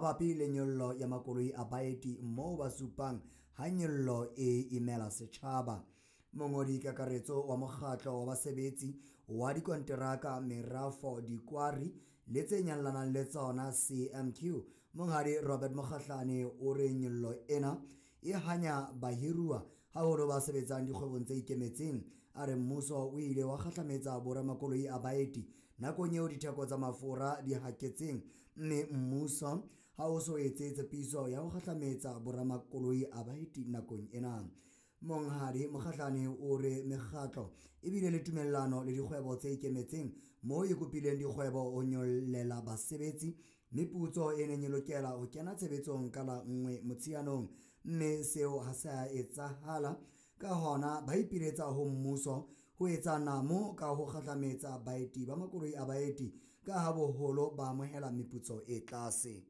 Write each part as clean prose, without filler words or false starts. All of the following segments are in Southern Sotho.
Mabapi le nyollo ya makoloi a baeti moo ba supang ha nyollo e imela setjhaba. Mongodi Kakaretso wa Mokgatlo wa Basebetsi wa Dikonteraka, Merafo, Dikwari le tse Nyalanang le Tsona, CMQ, Monghadi Robert Mokgahlane o re nyollo ena e hanya bahiruwa haholo ba sebetsang dikgwebong tse ikemetseng. A re mmuso o ile wa kgahlametsa boramakoloi a baeti nakong eo ditheko tsa mafura di haketseng, mme mmuso ha o so etse tshepiso ya ho kgahlametsa boramakoloi a baeti nakong ena. Monghadi Mokgahlane o re mekgatlo e bile le tumellano le dikgwebo tse ikemetseng moo e kopileng dikgwebo ho nyollela basebetsi meputso e neng e lokela ho kena tshebetsong ka la 1 Motsheanong, mme seo ha se a etsahala. Ka hona ba ipiletsa ho mmuso ho etsa namo ka ho kgahlametsa baeti ba makoloi a baeti ka ha boholo ba amohela meputso e tlase.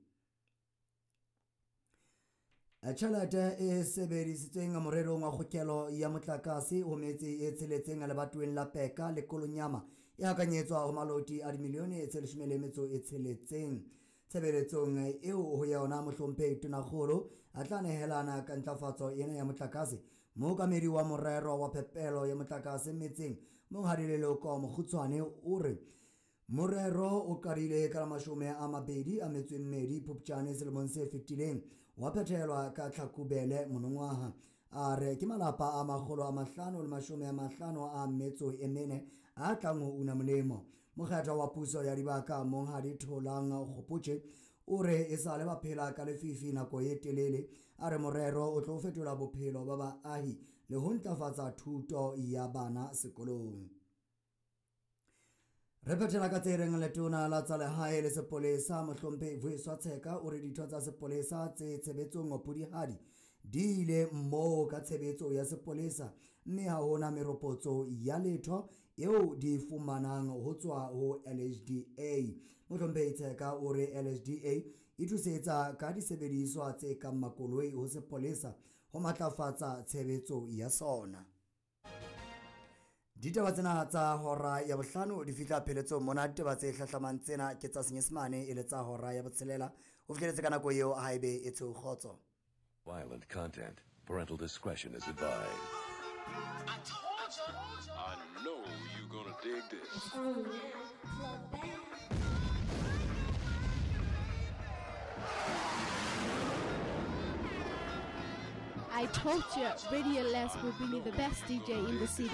Tjhelete e sebedisitsweng morerong wa kgokelo ya motlakase ho metse e tsheletseng lebatoweng la Peka le Kolonyama e hakanyetswa ho maloti a dimilione tse 16. Tshebeletsong eo ho yona mohlomphehi Tonakgolo a tla nehelana ka ntlafatso ena ya motlakase. Mookamedi wa morero wa phepelo ya motlakase metseng Monghadi Leloko Mokgutshwane o re morero o qadile ka la 22 Phupjane selemong se fetileng, wa phethelwa ka Tlhakubele monongwaha. A re ke malapa a 554 a tlang ho una molemo. Mokgethwa wa puso ya dibaka Monghadi Tholang Kgopotje o re e sale ba phela ka lefifi nako e telele. A re morero o tlo fetola bophelo ba baahi le ho ntlafatsa thuto ya bana sekolong. Re phethela ka tse reng letona la tsa lehae le sepolesa mohlomphehi Vuyiswa Tsheka o re ditho tsa sepolesa tse tshebetsong Pudihadi di ile moo ka tshebetso ya sepolesa, mme ha hona meropotso ya letho eo di fumanang ho tswa ho LHDA. Mohlomphehi Tsheka o re LHDA e thusetsa ka disebediswa tse kang makoloi ho sepolesa ho matlafatsa tshebetso ya sona. Ditaba tsena tsa hora ya bohlano di fihla pheletsong mona. Ditaba tse hlahlamang tsena ke tsa Senyesemane e le tsa hora ya botshelela. Ho fihleletse ka nako eo haebe e tshweu kgotso. Violent content. Parental discretion is advised. I told you. I know you're gonna dig this. Oh yeah, club bang. I told you, Radio Les will bring you the best DJ in the city.